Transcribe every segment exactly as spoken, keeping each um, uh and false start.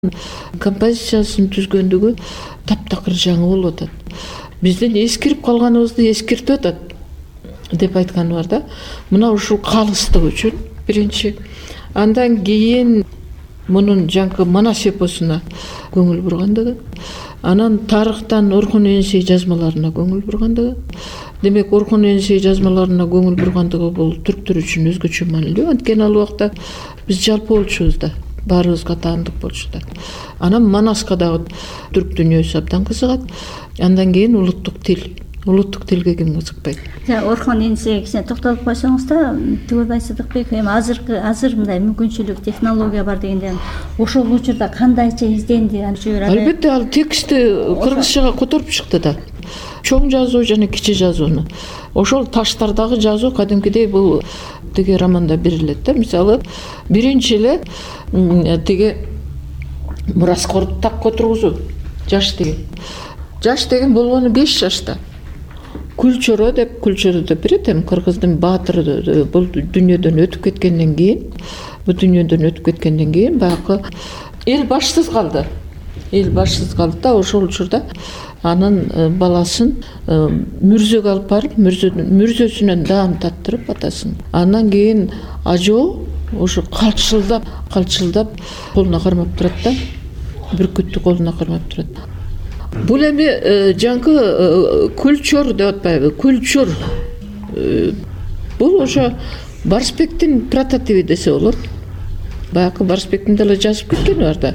композициясын түзгөндүгү таптакыр жаңы болуп атат. Биздин эскирип калганыбызды эскертип атат деп айтканы бар да. Мына ушул калыстык үчүн биринчи. Андан кийин мунун жаңкы Манас эпосуна көңүл бургандыгы, анан тарыхтан Орхун Энисей жазмаларына көңүл бургандыгы. Демек, Орхун Энисей жазмаларына көңүл бургандыгы бул түрктөр үчүн өзгөчө маанилүү. Анткени ал убакта биз жалпы болчубуз да, баарыбызга таандык болчу да. Анан Манаска дагы түрк дүйнөсү абдан кызыгат. Андан кийин улуттук тил. Улуттук тилге ким кызыкпайт? Орхун Энисейге кичине токтолуп койсоңуз да, Түгөлбай Сыдыкбеков эми азыркы азыр мындай мүмкүнчүлүк, технология бар дегенде ошол учурда кандайча изденди? Албетте, ал текстти кыргызчага которуп чыкты да. Чоң жазуу жана кичи жазууну. Ошол таштардагы жазуу кадимкидей бул тиги романда берилет да. Мисалы, биринчи эле тиги мураскорду так отургузуу. Жаш деген. Жаш деген болгону беш жашта. Күлчөрө деп күлчөрөдө берет, эми кыргыздын баатыры бул дүйнөдөн өтүп кеткенден кийин, бул дүйнөдөн өтүп кеткенден кийин баягы эл башсыз калды. Эл башсыз калды да, ошол учурда анын баласын мүрзөгө алып барып, мүрзөсүнөн даам таттырып атасын. Андан кийин ажоо ошо калчылдап, калчылдап колуна кармап турат да. Бүркүттү колуна кармап турат. Бул эми жаңкы күлчөр деп атпайбы? Күлчөр. Бул ошо Барсбектин прототиби десе болот. Баягы Барсбектин деле жазып кеткени бар да.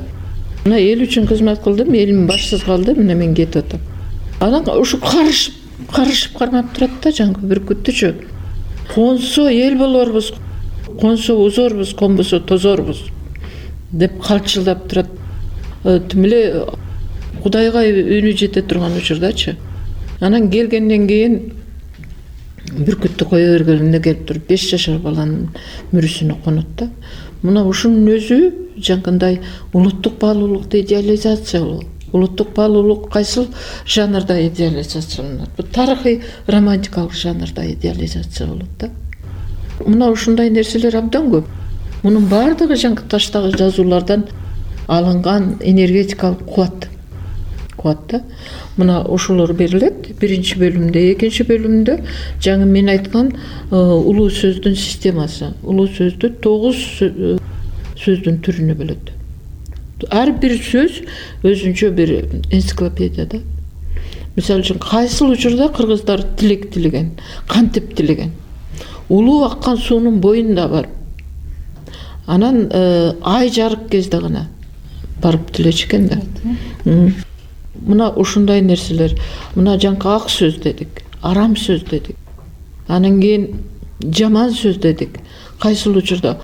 Мына эл үчүн кызмат кылдым, элим башсыз калды, мына мен кетип атам. Анан ушу карышып, карышып кармап турат да жаңкы бүркүттүчү. Консо эл болорбуз, консо узорбуз, конбосо тозорбуз деп калчылдап турат. Тим эле Кудайга үнү жете турган учурдачы. Анан келгенден кийин бүркүттү кое бергенде келип туруп беш жашар баланын мүрүсүнө конот да. Мына ушунун өзү жаңкындай улуттук баалуулукту идеализациялоо. Улуттук баалуулук кайсыл жанрда идеализацияланат? Бул тарыхый романтикалык жанрда идеализация болот да. Мына ушундай нерселер абдан көп. Мунун баардыгы жаңкы таштагы жазуулардан алынган энергетикалык кубат. Кубатта. Мына ошолор берилет биринчи бөлүмдө, экинчи бөлүмдө жаңы мен айткан улуу сөздүн системасы. Улуу сөздү тогуз сөздүн түрүнө бөлөт. Ар бир сөз өзүнчө бир энциклопедия да. Мисалы үчүн кайсыл учурда кыргыздар тилек тилеген, кантип тилеген. Улуу аккан суунун боюнда барып. Анан ай жарык кезде гана барып тилечү экен да. Мына ушундай нерселер. Мына жаңкы ак сөз дедик, арам сөз дедик. Анан кийин жаман сөз дедик. Кайсыл учурда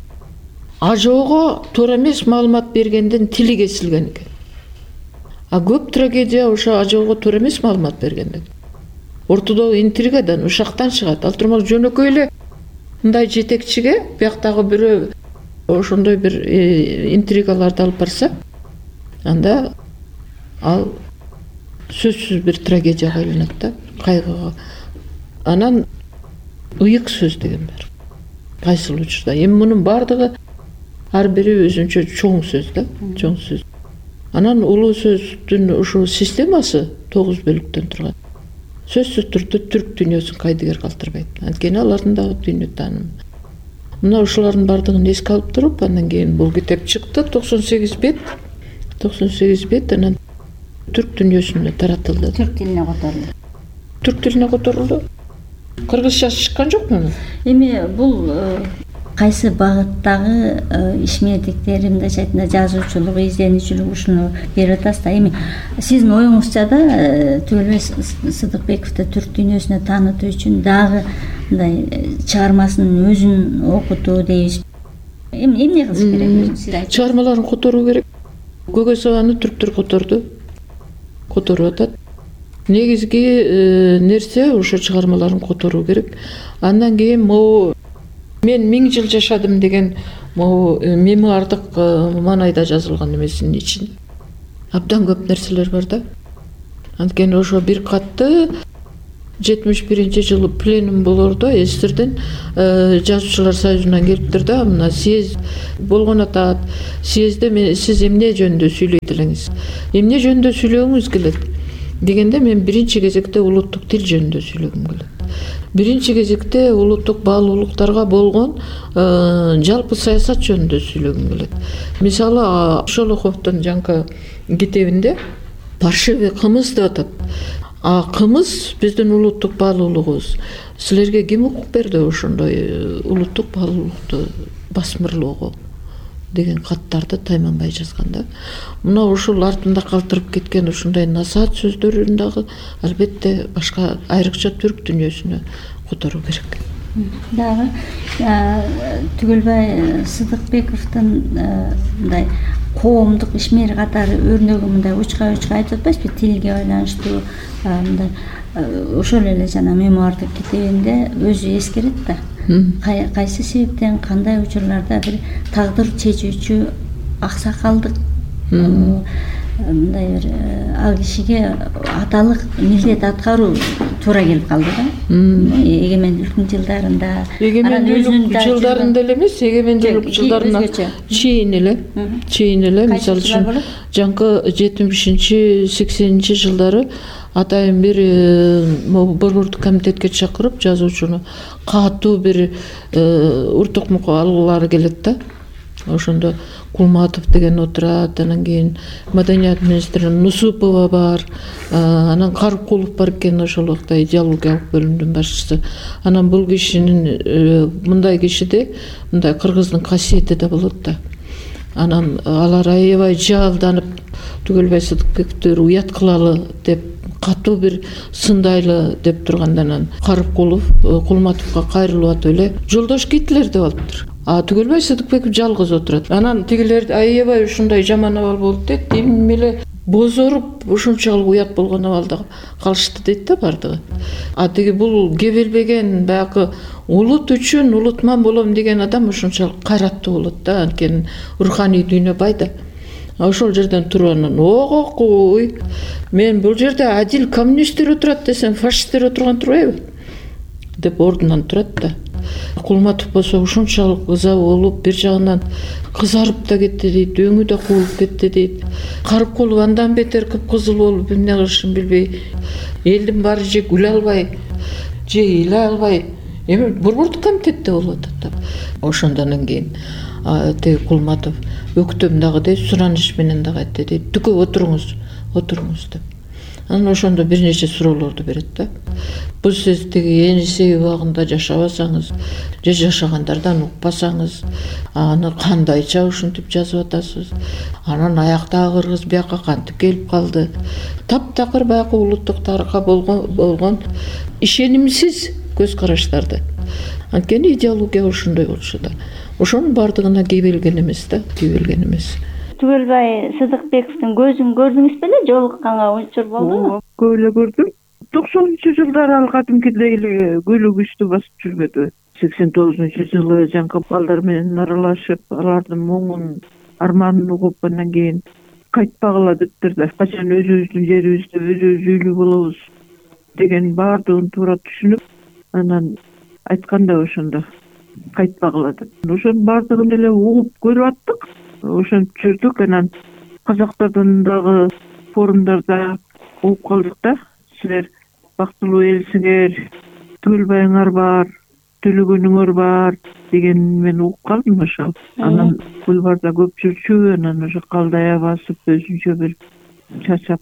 ажоого туура эмес маалымат бергенден тили кесилген экен. А көп трагедия ошо ажоого туура эмес маалымат бергенден. Ортодогу интригадан, ушактан чыгат. Ал турмак жөнөкөй эле мындай жетекчиге бияктагы бирөө ошондой бир интригаларды алып барса, анда ал сөзсүз бир трагедияга айланат да, кайгыга. Анан ыйык сөз деген бар. Кайсыл учурда. Эми мунун баардыгы ар бири өзүнчө чоң сөз да, чоң сөз. Анан улуу сөздүн ушул системасы тогуз бөлүктөн турат. Сөзсүз түрдө түрк дүйнөсүн кайдыгер калтырбайт. Анткени алардын дагы дүйнө таанымы. Мына ушулардын баардыгын эске алып туруп, андан кийин бул китеп чыкты, токсон сегиз бет. токсон сегиз бет анан түрк дүйнөсүнө таратылды. Түрк тилине которулду. Түрк тилине которулду. Кыргызчасы чыккан жок муну. Эми бул кайсы багыттагы ишмердиктери, мындайча айтканда жазуучулук, изденүүчүлүк ушуну берип атасыз да. Эми сиздин оюңузча да Түгөлбай Сыдыкбековду түрк дүйнөсүнө таанытуу үчүн дагы мындай чыгармасынын өзүн окутуу дейбиз. Эми эмне кылыш керек? Сиз айтыңыз. Чыгармаларын которуу керек. Көгөз абаны түрктөр которду. Которуп атат. Негизги нерсе ошо чыгармаларын которуу керек. Андан кийин могу мен миң жыл жашадым деген могу мемуардык маанайда жазылган эмесинин ичинде абдан көп нерселер бар да. Анткени ошо бир катты жетимиш биринчи жылы пленум болордо СССРден жазуучулар союзунан келиптир да, мына съезд болгон атат. Съездде мен сиз эмне жөнүндө сүйлөйт элеңиз, эмне жөнүндө сүйлөгүңүз келет дегенде, мен биринчи кезекте улуттук тил жөнүндө сүйлөгүм келет. Биринчи кезекте улуттук баалуулуктарга болгон жалпы саясат жөнүндө сүйлөгүм келет. Мисалы, Шолоховдун жаңкы китебинде паршивый кымыз деп атат. А кымыз биздин улуттук баалуулугубуз. Силерге ким укук берди ошондой улуттук баалуулукту басмырлоого деген каттарды Тайманбай жазган да. Мына ушул артында калтырып кеткен ушундай насаат сөздөрүн дагы албетте башка айрыкча түрк дүйнөсүнө которуу керек. Дагы Түгөлбай Сыдыкбековдун мындай коомдук ишмери катары өрнөгү мындай учка учка айтып атпайсызбы, тилге байланыштуу мындай ошол эле жана мемуардык китебинде өзү эскерет да. Кайсы себептен кандай учурларда бир тагдыр чечүүчү аксакалдык мындай бир ал кишиге аталык милдет аткаруу туура келип калды да. Эгемендүүлүктүн жылдарында, эгемендүүлүк жылдарында эле эмес, эгемендүүлүк жылдарына чейин эле, чейин эле, мисалы үчүн жаңкы жетимишинчи сексенинчи жылдары атайын бир борбордук комитетке чакырып жазуучуну катуу бир уртукмукка алгылары келет да. Ошондо Кулматов деген отурат, анан кийин маданият министри Нусупова бар, анан Карыкулов бар экен, ошол убакта идеологиялык бөлүмдүн башчысы. Анан бул кишинин мындай кишиде мындай кыргыздын касиети да болот да. Анан алар аябай жаалданып Түгөлбай Сыдыкбековду уят кылалы деп катуу бир сындайлы деп турганда, анан Карыкулов Кулматовго кайрылып атып эле жолдош Гитлер деп алыптыр. А Түгөлбай Сыдыкбеков жалгыз отурат. Анан тигилер аябай ушундай жаман абал болду дейт. Эми эле бозоруп ушунчалык уят болгон абалда калышты дейт да бардыгы. А тиги бул кебелбеген баягы улут үчүн улутман болом деген адам ушунчалык кайраттуу болот да, анткени руханий дүйнө бай да. Ошол жерден туруп анан ого куй, мен бул жерде адил коммунисттер отурат десем, фашисттер отурган турбайбы деп ордунан турат да. Кулматов болсо ушунчалык ыза болуп, бир жагынан кызарып да кетти дейт, өңү да куулуп кетти дейт. Карыкулов андан бетер кыпкызыл болуп, эмне кылышын билбей, элдин баары же күлө албай, же ыйлай албай, эми борбордук комитетте болуп атат да. Ошондон кийин теги Кулматов өктөм дагы дейт, сураныш менен дагы айтты дейт, түкө отуруңуз, отуруңуз деп. Анан ошондо бир нече суроолорду берет да. Бул сиз тиги Енисей убагында жашабасаңыз, же жашагандардан укпасаңыз, аны кандайча ушинтип жазып атасыз? Анан аяктагы кыргыз бияка кантип келип калды? Таптакыр баягы улуттук тарыхка болгон болгон ишенимсиз көз караштарды. Анткени идеология ошондой болчу да. Ошонун бардыгына кийбелген эмес да, кийбелген эмес. Түгөлбай Сыдыкбековдун көзүн көрдүңүз беле? Жолукканга учур болдубу? Көп эле көрдүм. токсонунчу жылдары ал кадимкидей эле күлү күчтүү басып жүрбөдү. сексен тогузунчу жылы жаңкы балдар менен аралашып, алардын моңун, арманын угуп, андан кийин кайтпагыла дептир да. Качан өзүбүздүн жерибизде өзүбүз үйлүү болобуз деген баардыгын туура түшүнүп, анан айтканда ошондо кайтпагыла деп. Ошонун баардыгын эле угуп көрүп аттык. Ошентип жүрдүк. Анан казактардын дагы форумдарда угуп калдык да. Силер бактылуу элсиңер, Түгөлбайыңар бар, төлөгөнүңөр бар деген мен угуп калдым ошол. Анан бульварда көп жүрчү, анан ошо калдая басып, өзүнчө бир чачап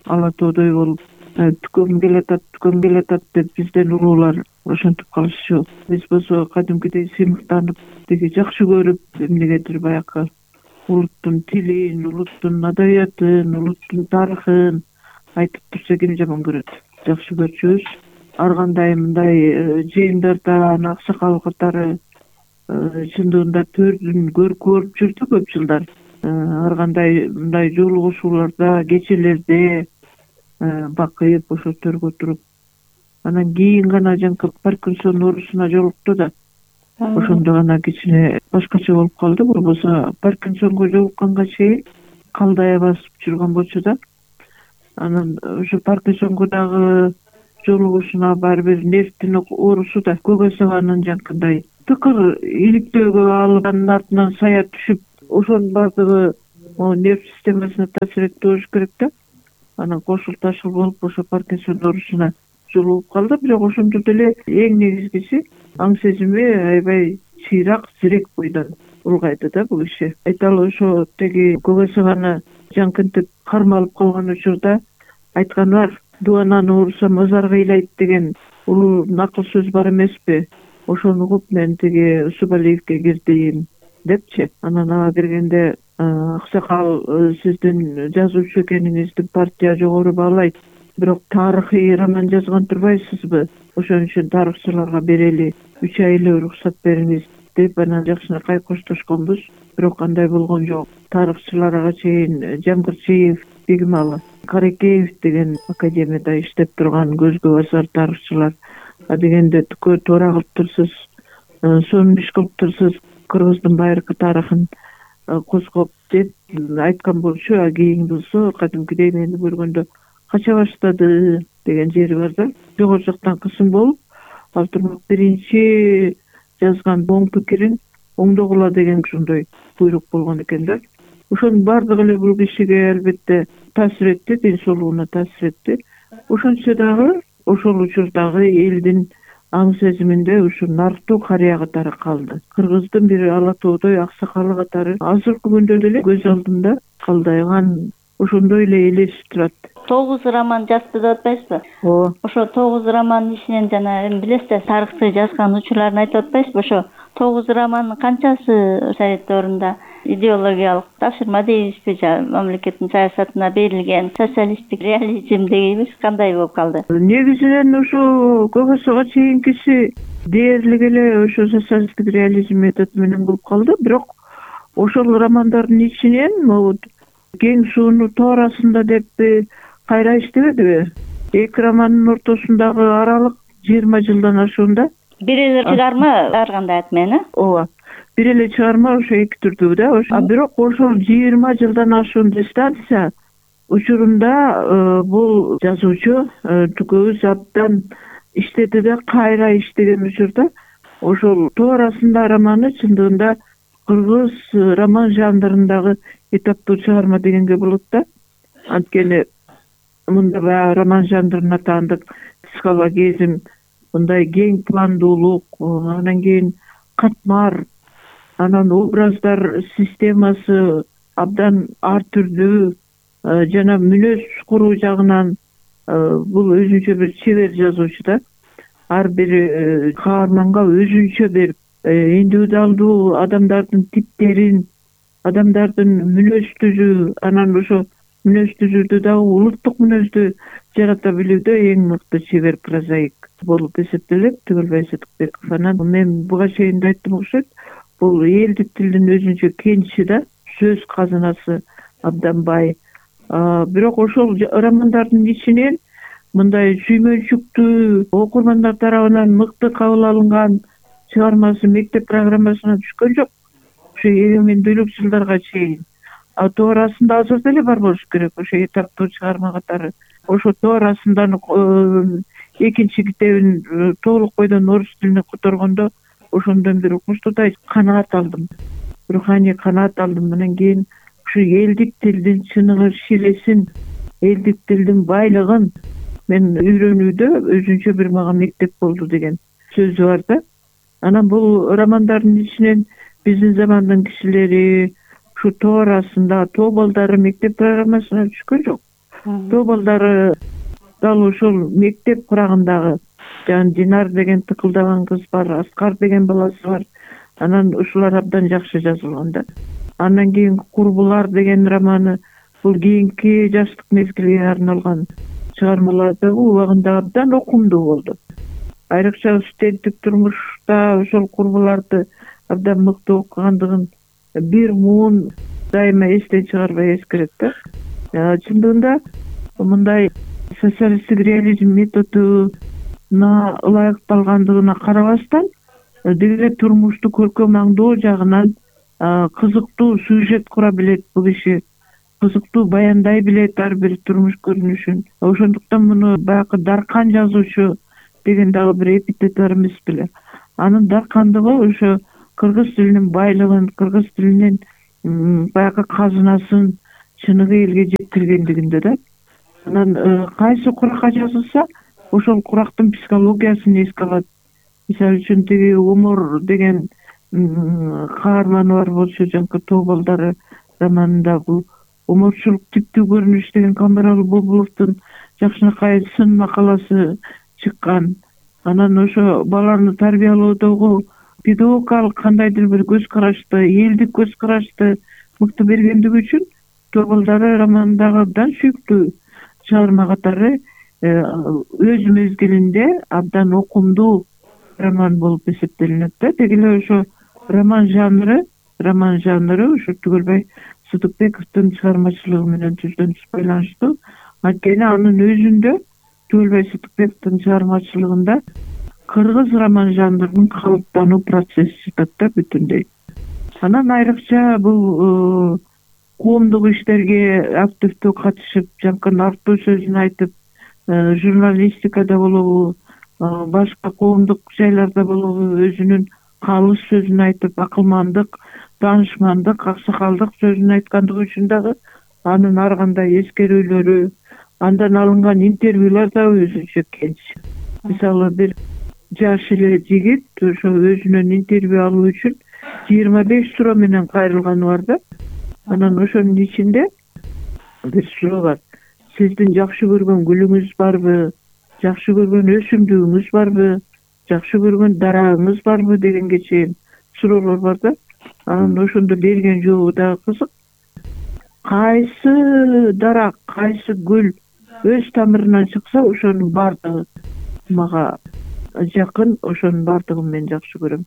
ала тоодой болуп, түкөм келатат, түкөм келатат деп бизден уруулар ошентип калышчу. Биз болсо кадимкидей сыймыктанып, тиги жакшы көрүп, эмнегедир баягы улуттун тилин, улуттун адабиятын, улуттун тарыхын айтып турса ким жаман көрөт? Жакшы көрчүбүз. Ар кандай мындай жыйындарда аксакал катары чындыгында төрдүн көрүп жүрдү көп жылдар. Ар кандай мындай жолугушууларда, кечелерде бакып, ошо төргө туруп, анан кийин гана жаңкы Паркинсон оорусуна жолукту да. Ошондо гана кичине башкача болуп калды. Болбосо Паркинсонго жолукканга чейин калдая басып жүргөн болчу да. Анан ошо Паркинсонго дагы жолугушуна баары бир нервтин оорусу да Гогосованын жанакындай тыкыр иликтөөгө алып анын артынан сая түшүп, ошонун баардыгы нерв системасына таасир этти болуш керек да. Анан кошул ташыл болуп ошо Паркинсон оорусуна жолугуп калды. Бирок ошондо деле эң негизгиси аң сезими аябай чыйрак, зирек бойдон улгайды да бул киши. Айталы ошо теги Гогосованы жанкынтип кармалып калган учурда айтканы бар: "Дуананы урса мазарга ыйлайт" деген улуу накыл сөз бар эмеспи? Ошону угуп мен тиги Субалиевке кирдим депчи. Анан ага киргенде: "Аксакал, сиздин жазуучу экениңизди партия жогору баалайт, бирок тарыхый роман жазган турбайсызбы? Ошон үчүн тарыхчыларга берели, үч ай эле уруксат бериңиз" деп анан жакшынакай коштошконбуз. Бирок андай болгон жок. Тарыхчыларга чейин Жамгырчиев, Бегималы Каракеев деген академияда иштеп турган көзгө басар тарыхчылар дегенде түкө туура кылыптырсыз, сонун иш кылыптырсыз, кыргыздын байыркы тарыхын козгоп деп айткан болчу. А кийин болсо кадимкидей мени көргөндө кача баштады деген жери бар да. Жогору жактан кысым болуп, ал турмак биринчи жазган оң пикирин оңдогула деген ушондой буйрук болгон экен да. Ошонун баардыгы эле бул кишиге албетте таасир этти, ден соолугуна таасир этти. Ошончо дагы ошол учурдагы элдин аң сезиминде ушу нарктуу карыя катары калды. Кыргыздын бир ала тоодой аксакалы катары азыркы күндө деле көз алдымда калдайган ошондой эле элесип турат. Тогуз роман жазды деп атпайсызбы? Ооба. Ошо тогуз романдын ичинен жана эми билесиз, тарыхты жазган учурларын айтып атпайсызбы? Ошо тогуз романдын канчасы совет дöwрүндө идеологиялык тапшырма дейбизби, мамлекеттин саясатына берилген социалисттик реализм дейбиз, кандай болуп калды? Негизинен ушу Гогосова чейинкиси дээрлик эле ошо социалисттик реализм методу менен болуп калды. Бирок ошол романдардын ичинен могу кең сууну тоорасында деп кайра иштебедиби? Эки романдын ортосундагы аралык жыйырма жылдан ашуунда. Бир эле чыгарма ар кандай ат менен, э? Ооба. Бир эле чыгарма ошо эки түрдүү да. А бирок ошол жыйырма жылдан ашуун дистанция учурунда бул жазуучу түкөбүз абдан иштеди да кайра иштеген учурда ошол тоорасында романы чындыгында кыргыз роман жанрындагы этаптуу чыгарма дегенге болот да. Анткени мында баягы роман жанрына таандык психологизм, мындай кең пландуулук, анан кийин катмар, анан образдар системасы абдан ар түрдүү, жана мүнөз куруу жагынан бул өзүнчө бир чебер жазуучу да. Ар бир каарманга өзүнчө бир индивидуалдуу адамдардын типтерин, адамдардын мүнөз түзүү, анан ошо мүнөз түзүүдө дагы улуттук мүнөздү жарата билүүдө эң мыкты чебер прозаик болуп эсептелет Түгөл Байсетбеков. Анан мен буга чейин да айттым окшойт, бул элдик тилдин өзүнчө кенчи да, сөз казынасы абдан бай. Бирок ошол романдардын ичинен мындай сүймөнчүктүү, окурмандар тарабынан мыкты кабыл алынган чыгармасы мектеп программасына түшкөн жок. Ошо эгемендүүлүк жылдарга чейин. А тоорасында азыр деле бар болуш керек ошо этаптуу чыгарма катары. Ошо тоорасындан экинчи китебин толук бойдон орус тилине которгондо ошондон бир укмуштуудай канаат алдым. Руханий канаат алдым. Анан кийин ушу элдик тилдин чыныгы шилесин, элдик тилдин байлыгын мен үйрөнүүдө өзүнчө бир мага мектеп болду деген сөзү бар да. Анан бул романдардын ичинен биздин замандын кишилери ушу тоорасында тоо балдары мектеп программасына түшкөн жок. Тоо балдары дал ошол мектеп курагындагы, жана Динар деген тыкылдаган кыз бар, Аскар деген баласы бар. Анан ушулар абдан жакшы жазылган да. Андан кийин Курбулар деген романы бул кийинки жаштык мезгилге арналган чыгармаларды убагында абдан окумдуу болду. Айрыкча студенттик турмушта ошол Курбуларды абдан мыкты окугандыгын бир муун дайыма эстен чыгарбай эскерет да. Чындыгында мындай социалисттик реализм методуна ылайыкталгандыгына карабастан деги турмушту көркөм аңдоо жагынан кызыктуу сюжет кура билет бул киши. кызыктуу баяндай билет ар бир турмуш көрүнүшүн. Ошондуктан муну баягы даркан жазуучу деген дагы бир эпитет бар эмес беле. Анын даркандыгы ошо кыргыз тилинин байлыгын, кыргыз тилинин баягы казынасын чыныгы элге жеткиргендигинде да. Анан кайсы куракка жазылса, ошол курактын психологиясын эске алат. Мисалы үчүн тиги Умор деген каарманы бар болчу, жанкы Тоо балдары романында бул уморчулук типтүү көрүнүш деген Камбаралы Бобуловдун жакшынакай сын макаласы чыккан. Анан ошо баланы тарбиялоодогу педагогикалык кандайдыр бир көз карашты, элдик көз карашты мыкты бергендиги үчүн Тоо балдары романындагы абдан сүйүктүү чыгарма катары өз мезгилинде абдан окумдуу роман болуп эсептелинет да. Деги эле ошо роман жанры, роман жанры ушу Түгөлбай Сыдыкбековдун чыгармачылыгы менен түздөн-түз байланыштуу. Анткени анын өзүндө Түгөлбай Сыдыкбековдун чыгармачылыгында кыргыз роман жанрынын калыптануу процесси жатат да бүтүндөй. Анан айрыкча бул коомдук иштерге активдүү катышып, жанкы артуу сөзүн айтып, журналистикада болобу, башка коомдук жайларда болобу өзүнүн калыс сөзүн айтып, акылмандык, таанышмандык, аксакалдык сөзүн айткандыгы үчүн дагы анын ар кандай эскерүүлөрү, андан алынган интервьюлар дагы өзүнчө кенч. Мисалы бир жаш эле жигит ошо өзүнөн интервью алуу үчүн жыйырма беш суроо менен кайрылганы бар да. Анан ошонун ичинде бир суроо бар. Сиздин жакшы көргөн гүлүңүз барбы? Жакшы көргөн өсүмдүгүңүз барбы? Жакшы көргөн дарагыңыз барбы дегенге чейин суроолор бар да. Анан ошондо берген жообу дагы кызык. Кайсы дарак, кайсы гүл өз тамырынан чыкса, ошонун баардыгы мага жакын, ошонун баардыгын мен жакшы көрөм.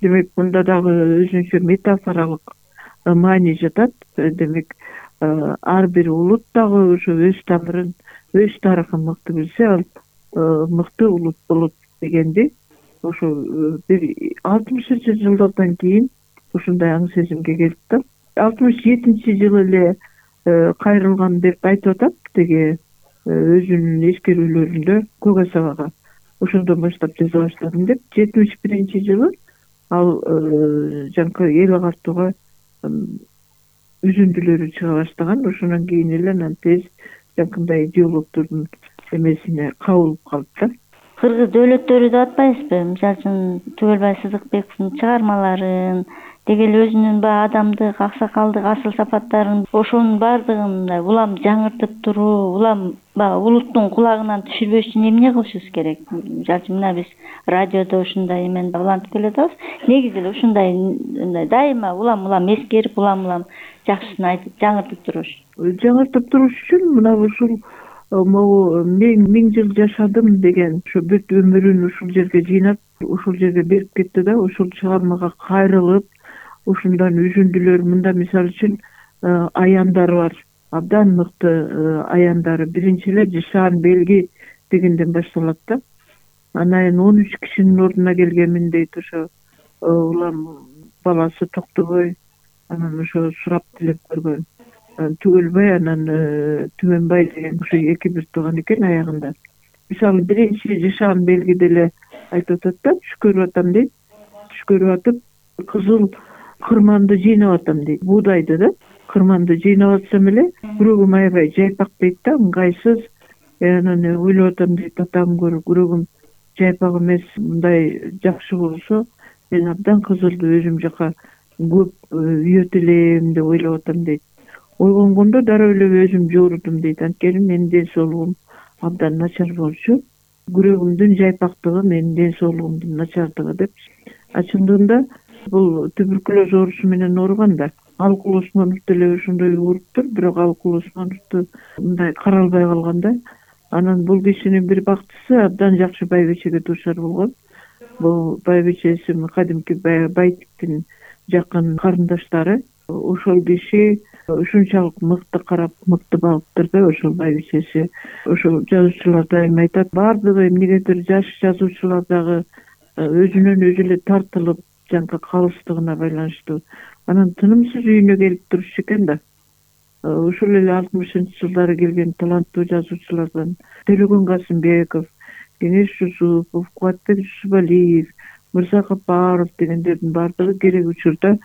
Демек, мында дагы өзүнчө метафоралык маани жатат. Демек, ар бир улут дагы ошо өз тамырын, өз тарыхын мыкты билсе, ал мыкты улут болот дегенди ошо бир алтымышынчы жылдардан кийин ушундай аң сезимге келип да. алтымыш жетинчи жылы эле кайрылган деп айтып атат теги өзүнүн эскерүүлөрүндө Көк Асабага. Ошондон баштап жаза баштадым деп. жетимиш биринчи жылы ал жанкы эл агартууга үзүндүлөрү чыга баштаган. Ошондон кийин эле анан тез жанкындай идеологдордун эмесине кабылып калып да. Кыргыз дөөлөттөрү деп атпайсызбы? Мисалы үчүн Түгөлбай Сыдыкбековдун чыгармаларын, деги эле өзүнүн баягы адамдык, аксакалдык, асыл сапаттарын, ошонун баардыгын улам жаңыртып туруу, улам баягы улуттун кулагынан түшүрбөш үчүн эмне кылышыбыз керек? Мисалы үчүн мына биз радиодо ушундай эмени улантып келатабыз. Негизи эле ушундай мындай дайыма улам-улам эскерип, улам-улам жакшысын айтып, жаңыртып туруш. Жаңыртып туруш үчүн мына ушул могу мен миң жыл жашадым деген ошо бүт өмүрүн ушул жерге жыйнап, ушул жерге берип кетти да. Ушул чыгармага кайрылып, ушундан үзүндүлөр. Мында мисалы үчүн аяндары бар, абдан мыкты аяндары. Биринчи эле Жышаан белги дегенден башталат да. Анан он үч кишинин ордуна келгенмин дейт ошо улам баласы Токтобой. Анан ошо сурап тилеп көргөн. Түгөлбай анан Түмөнбай деген ошо эки бир тууган экен аягында. Мисалы биринчи Жышаан белгиде эле айтып атат да, түш көрүп атам дейт. Түш көрүп атып, кызыл кырманды жыйнап атам дейт. Буудайды да, кырманды жыйнап атсам эле күрөгүм аябай жайпак дейт да, ыңгайсыз. Анан ойлоп атам дейт, атам күрөгүм жайпак эмес, мындай жакшы болсо мен абдан кызылды өзүм жака көп үйөт элем деп ойлоп атам дейт. Ойгонгондо дароо эле өзүм жоорудум дейт. Анткени менин ден соолугум абдан начар болчу. Күрөгүмдүн жайпактыгы менин ден соолугумдун начардыгы деп. Чындыгында бул туберкулез оорусу менен ооруган да. Алкул Осмонов деле ошондой ооруптур, бирок Алкул Осмоновду мындай каралбай калган да. Анан бул кишинин бир бактысы абдан жакшы байбичеге дуушар болгон. Бул байбичеси кадимки Байтиктин жакын карындаштары. Ошол киши ушунчалык мыкты карап, мыкты багыптыр да ошол байбичеси. Ошол жазуучулар дайыма айтат, баардыгы эмнегедир жаш жазуучулар дагы өзүнөн өзү эле тартылып, жанкы калыстыгына байланыштуу. Анан тынымсыз үйүнө келип турчу экен да. ушул эле алтымышынчы жылдары келген таланттуу жазуучулардан Төлөгөн Касымбеков, Кеңеш Жусупов, Кубатбек Жусупалиев, Мырза Капаров дегендердин баардыгы керек учурда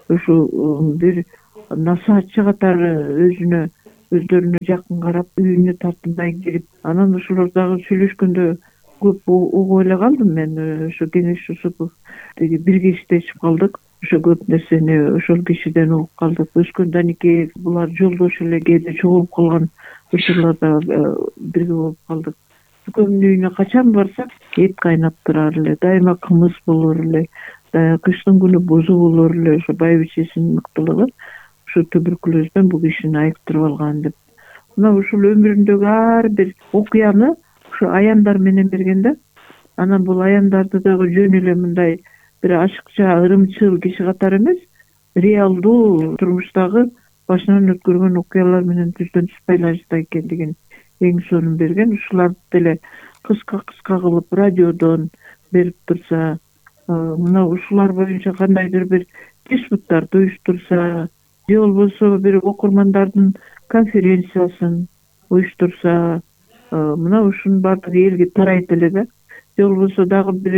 ушу бир насаатчы катары өзүнө өздөрүнө жакын карап, үйүнө тартынбай кирип, анан ошолор дагы сүйлөшкөндө көп угуп эле калдым мен. Ошо Кеңеш Жусупов деги бирге иштешип калдык. Ошо көп нерсени ошол кишиден угуп калдык. Өскөн Даникеев, булар жолдош эле кээде чогулуп калган учурларда бирге болуп калдык. Экөөнүн үйүнө качан барсак эт кайнап турар эле, дайыма кымыз болор эле, кыштын күнү бузу болор эле. Ошо байбичесинин мыктылыгы ушу туберкулезден бул кишини айыктырып алган деп. Мына ушул өмүрүндөгү ар бир окуяны ушу аяндар менен берген да. Анан бул аяндарды дагы жөн эле мындай бир ашыкча, ырымчыл киши катары эмес, реалдуу турмуштагы башынан өткөргөн окуялар менен түздөн түз байланышта экендигин эң сонун берген. Ушуларды деле кыска-кыска кылып радиодон берип турса, мына ушулар боюнча кандайдыр бир диспуттарды уюштурса, же болбосо бир окурмандардын конференциясын уюштурса, мына ушунун баардыгы элге тарайт эле да. Же болбосо дагы бир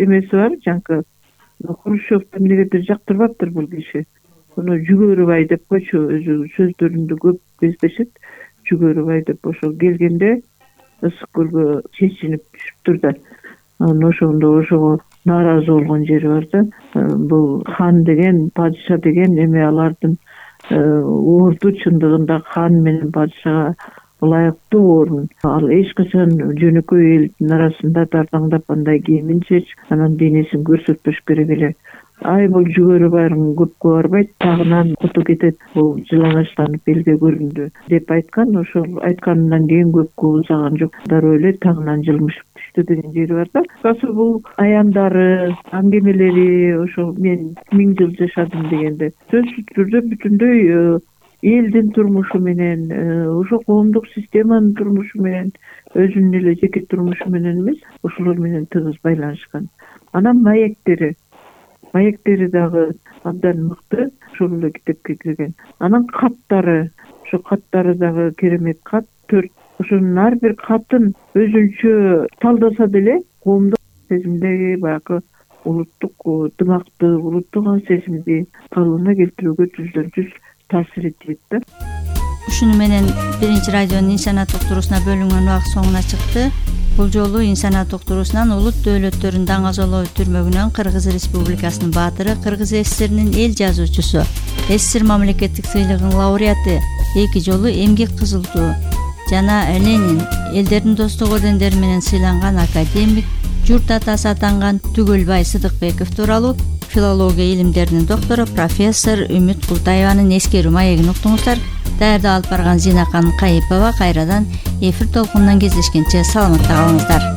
эмеси бар, жанакы Хрущевду эмнегедир жактырбаптыр бул киши. Муну Жүгөрүбай деп койчу, өзү сөздөрүндө көп кездешет. Жүгөрүбай деп ошол келгенде ысык көлгө чечинип түшүптүр да. Анан ошондо ошого нааразы болгон жери бар да. Бул хан деген, падыша деген эме алардын орду чындыгында хан менен падышага ылайыктуу орун. Ал эч качан жөнөкөй элдин арасында дардаңдап андай кийимин чеч, анан денесин көрсөтпөш керек эле. Ай бул Жүгөрүбайдын көпкө барбайт, тагынан куту кетет, бул жылаңачтанып элге көрүндү деп айткан. Ошол айтканынан кийин көпкө узаган жок, дароо эле тагынан жылмышып түштү деген жери бар да. Касы бул аяндары, аңгемелери, ошол мен миң жыл жашадым дегенде сөзсүз түрдө бүтүндөй элдин турмушу менен, ошо коомдук системанын турмушу менен, өзүнүн эле жеке турмушу менен эмес, ошолор менен тыгыз байланышкан. Анан маектери, маектери дагы абдан мыкты, ошол эле китепке кирген. Анан каттары, ошо каттары дагы керемет кат, төрт. Ошонун ар бир катын өзүнчө талдаса деле коомдук сезимдеги баягы улуттук дымакты, улуттук ан сезимди калыбына келтирүүгө түздөн түз таасир этет да. Ушуну менен биринчи радионун инсаният уктуруусуна бөлүнгөн убакыт соңуна чыкты. Бул жолу инсаният уктуруусунан улут дөөлөттөрүн даңазалоо түрмөгүнөн Кыргыз Республикасынын баатыры, Кыргыз ССРнин эл жазуучусу, ССР мамлекеттик сыйлыгынын лауреаты, эки жолу эмгек кызыл туу жана Ленин элдердин достук ордендери менен сыйланган академик, журт атасы атанган Түгөлбай Сыдыкбеков тууралуу филология илимдеринин доктору профессор Үмүт Култаеванын эскерүү маегин уктуңуздар. Даярдап алып барган Зинакан Кайыпова. Кайрадан эфир толкунунан кездешкенче саламатта калыңыздар.